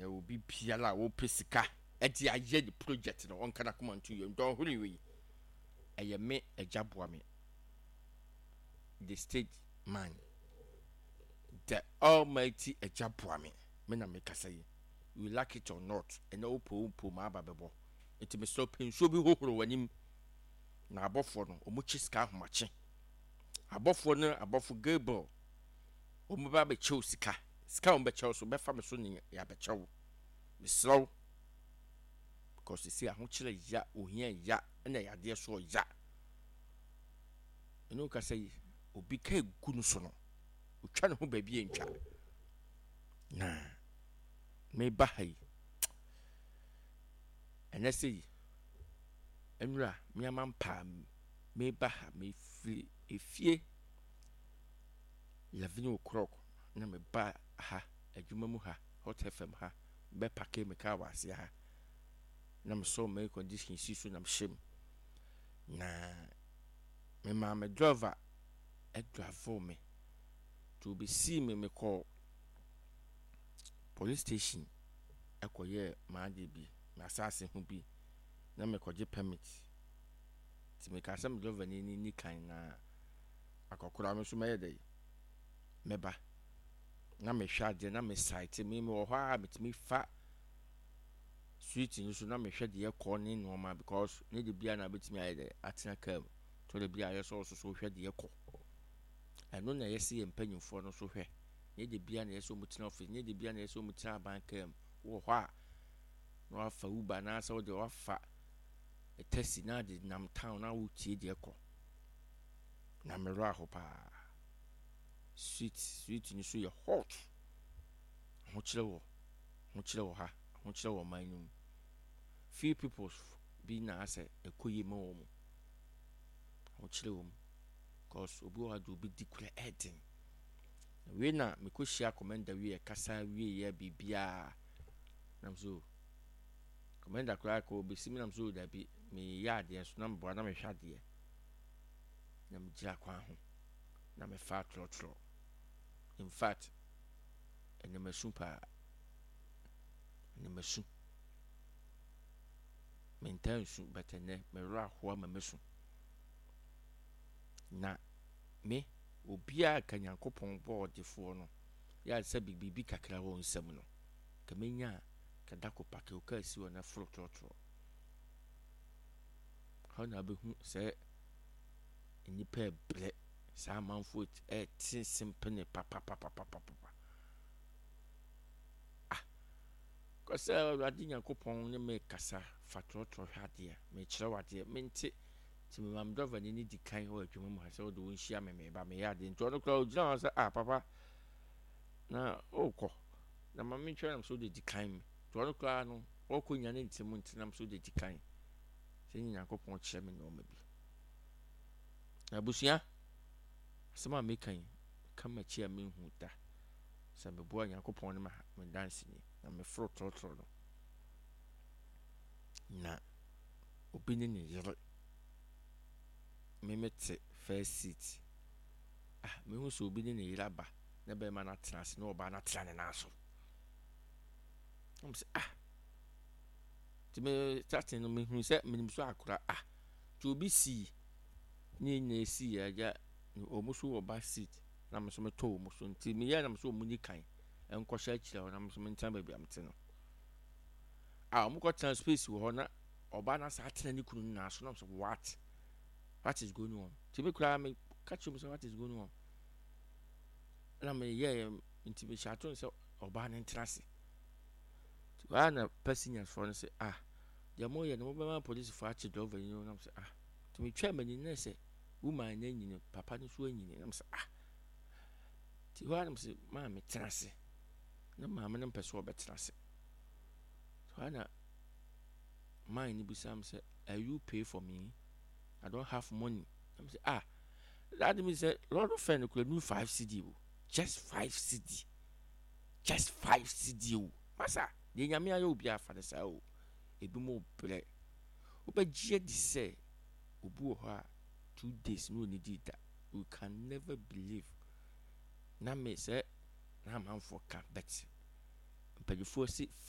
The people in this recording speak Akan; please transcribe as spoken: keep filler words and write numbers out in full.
Obi biara a wɔpɛ sika ɛde ayɛ ne project no, ɔnka n'akoma nto yɛ ndɔnhwere wei. Ɛyɛ me Agya Boa Me, the state man, the almighty Agya Boa Me. Me na mekasa yi, you like it or not, ɛnɛ wopɛ wo mpo ma aba bɛbɔ. Nti mesrɛ, pɛ nsuo bi hohoro w'anim na abɔfoɔ no ɔmo kye sika ahomakye. Abɔfoɔ no, abɔfo Gabriel, ɔmo bɛ abɛkyɛw sika. Sika a ɔmo bɛkyɛw so bɛfa me so ne yɛabɛkyɛw. Mesrɛ wo, because sisi ahokyerɛ ya, ohia ya, ɛna yadeɛ so ɔya. Ɛne kasa yi, obi ka egu no so no, otwa ne ho baabi ntwa. Na meba ha yi, ɛnɛ sɛ yi nwura mmeama mpaa, meba ha, mefiri efie eleven o'clock na meba ha adwuma mu ha, Hot F M ha, bɛ park me kaa wɔ aseɛ ha na mesɔ me air condition si so na mehyɛ mu na memaa me driver ɛdrive me nti obɛsii me. Mekɔɔ police station ɛkɔyɛɛ m'adeɛ bi, m'asase ho bi, na mekɔgye permit. Nti mekaa sɛ me driver ni ni kan na akɔkora me nso mɛyɛ dɛ mɛba na mehwɛ adeɛ na me site me mewɔ hɔ a metumi fa street no so na mehwɛ deɛ ɛkɔ ne nneɛma, because ne de bia na bɛtumi ayɛ dɛ atena kaa mu tɔ de bia ayɛ sɛ ɔso so hwɛ deɛ ɛkɔ. Ɛno na ɛyɛ sɛ yɛ mpanyinfoɔ no so hwɛ ne de bia na ɛyɛ sɛ ɔmo tena office, ne de bia na ɛyɛ sɛ ɔmo tena aban kaa mu wɔ hɔ a na wafa Uber anaasɛ wɔde wafa taxi na de nam town na wotie deɛ ɛkɔ. Na mmerɛ aho paa, street street no so yɛ hot. Ahokyerɛ wɔ, ahokyerɛ wɔ ha, ahokyerɛ wɔ ɔman no mu. Few people bi na asɛ ɛkɔ yie ma wɔn mu. Ahokyerɛ wɔ mu cause obi wɔ ha de obi di kura ɛɛden. Na wei na mekɔhyia commander wie, kasa wie, yɛ biribiara nam so commander koraa kɔ obɛsi mi nam so dabi, meyɛ adeɛ so na meboa na mehwɛ adeɛ na megyina kwan ho na mefa trɔtrɔ. In fact, ɛnɛ masu paa, ɛnɛ masu. Mentaa nsu, but ɛnɛ mewerɛ ahoa ma masu. Na me obiara ka Nyankopɔn bɔɔ ɔdefoɔ no yɛ sɛ biribi kakra wɔ nsam no ka menya a kada ko park wo kaa si hɔ na foro trɔtrɔ hɔ na wobɛhu sɛ nnipa ɛbrɛ saa, amanfoɔ ɛte sempene papapapapapa. Ah, kɔsɛ Awurade Nyankopɔn ne me kasa fa trɔtrɔ hwɛ adeɛ, mekyerɛ wo adeɛ mente. Nti mema me driver ni ne di kan wɔ adwuma mu ha sɛ wode wo nhyia me, meba meyɛ adeɛ. Nti ɔno koraa ɔgyina hɔ sɛ, "Ah, papa, na wokɔ na ma mentwɛn." Nam sɛ wode di kan me. Nti ɔno koraa no ɔkɔ nya ne ntɛm nti nam sɛ wode di kan sɛ ne Nyankopɔn kyerɛ me nneɔma bi. Na abusua, asɛm a meka yi ka m'akyi a menhu da sɛ meboa Nyankopɔn ne me danseni na meforo trɔtrɔ no na obi ne ne yere, me mete first seat. Ah, mehu sɛ obi ne ne yere aba na bɛrima no atena ase na ɔbaa no atena ne nan so. Ɔmo sɛ, ah, nti me starting no mehu sɛ menim so akora. Ah, nti obi sii ne nyinaa esi agya ɔmo so wɔ back seat na me nso metɔ ɔmo so. Nti meyɛ nam so ɔmo ni kan nkɔhyɛ akyire hɔ na me nso mentena baabi a mete no a ɔmo kɔtena space wɔ hɔ na ɔbaa no asa atena ne kunu no nan so. Na mo sɛ, what what is going on?" Nti me koraa me ka kyerɛ mu sɛ, "What is going on?" Na meyɛ nti mehyɛ ato no sɛ ɔbaa no ntena ase. Nti waa na passengers foɔ no sɛ, "Ah, deɛ moyɛ no, mobɛma polisifoɔ akye driver yi no." Nam sɛ, ah, nti metwa m'ani na sɛ woman no anyini, papa no nso anyini. Nam sɛ, ah, nti hɔ a nam sɛ maame tena ase na maame no mpɛ sɛ ɔbɛtena ase. Hɔ a na man no bisa m sɛ, "Are you pay for me? I don't have money." Nam sɛ, ah, that means sɛ lorry fare no kura nu five cedi o, just five cedi, just five cedi o. Masa deɛ Nyame ayɛ obi afa ne saa o. Ebi mo brɛ wobɛgye adi sɛ obi wɔ hɔ a two days na onidi da. You can never believe. Na me sɛ na amanfoɔ ka, but mpanyinfoɔ si